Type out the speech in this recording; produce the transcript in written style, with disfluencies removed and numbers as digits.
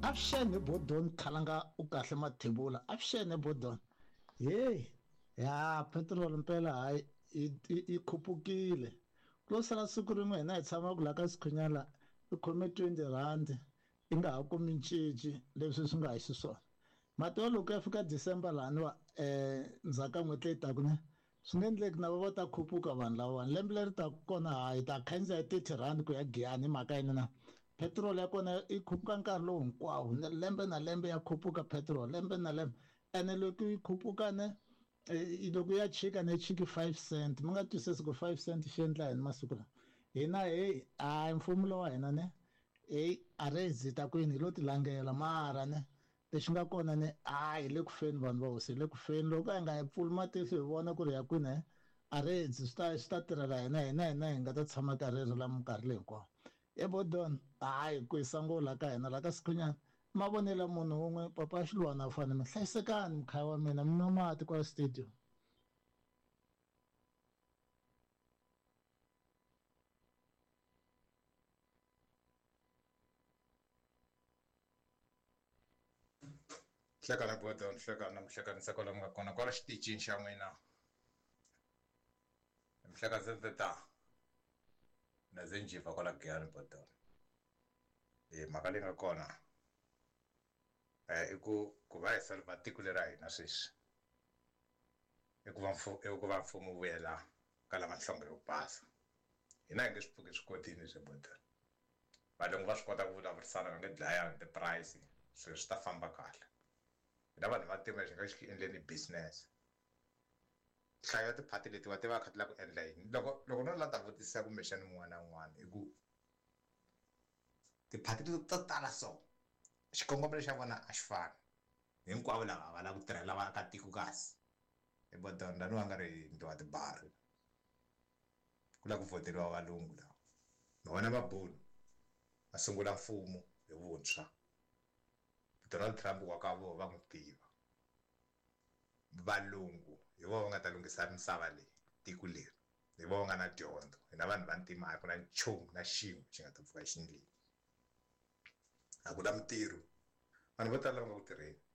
Avuxeni Bodon Khalanga u kahle Mathebula avuxeni Bodon hey ya petrol mpela hayi yi khupukile ku lo sala siku rin'we hina hi tshama ku la ka Sikhunyana i khome 20 rand i nga ha kumi cinci leswi swi nga hi xiswona mati wa loko ya fika December laniwa ndzhaku ka n'hweti leyi taka ne swi nge endleki na va ta khuphuka vanhu lavawani lembe leri taka kona ha hi ta khandziya hi R30 ku ya Giyani hi mhaka yini na petrol ya kona yi khuphuka nkarhi lowu hinkwawo lembe na lembe ya khuphuka petrol lembe na lembe ene loko yi khuphuka ne loko ya chika ne chiki 5 cent mi nga twisisi ku 5 cent xi endla yini masiku lawa hina heyi hayi mfumo lowa hina ne heyi a ri hi ta kwini hi lo ti langela mara ne lexi nga kona ni a hi le ku feni vanhu va hosi hi le ku feni loko a hi nga hi pfuli matihlo hi vona ku ri ya kwini a ri swi ta swi ta tirhela hina hina hina hi nga ta tshama karhi ri la minkarhi leyi hinkwayo e bodon hayi ku hisa ngo la ka hina la ka Sikhunyana mavonelo munhu wun'we papa Xilwana fane mi hlayisekani mkhaya wa mina mi nwa mati kwala studio. Hlekana Gordon, hlekana mihlekani ntsako lomu nga kona kwala xitichini xa n'wina. Mihleka ta na ze njiva kwala Giyani Gordon. Mhaka leyi nga kona i ku ku va hi solver tiko leri ra hina sweswi i ku va i ku va mfumo wu vuyela ka lava nhlonge yo basa. Hina hi nge swi pfuki hi swi kotile leswi Gordon. Valungu va swi kota ku vulavurisana va nge dlayani ti-price swilo swi ta famba kahle. Hina vanhu va ntima lexi nga xi endleni business. Nhlayo ya tiphati letiwa ti va kha ti lava ku endla yini? Loko loko no la ta vutisa kumbexana un'wana na un'wana i ku tiphati leti to tala so xikongomelo xa vona a xi fani. Hinkwavo lava a va lavi ku tirhela vaakatiko kasi. I Bodon laniwa nga ri yindlu tibari. Ku lava ku vhoteriwa valungu lawa. Ma vona mabunu va sungula mfumo hi vuntshwa. Donald Trump wa ka vona va n'wi tiva. Valungu hi vona va nga ta lunghisa misava leyi, tiko leri. Hi vona va nga na dyondzo. Hina vanhu va ntima a ku na nchumu na xin'we xi nga ta pfuka xi endlile. A ku na mintirho. Vanhu vo tala va nga ku tirheni.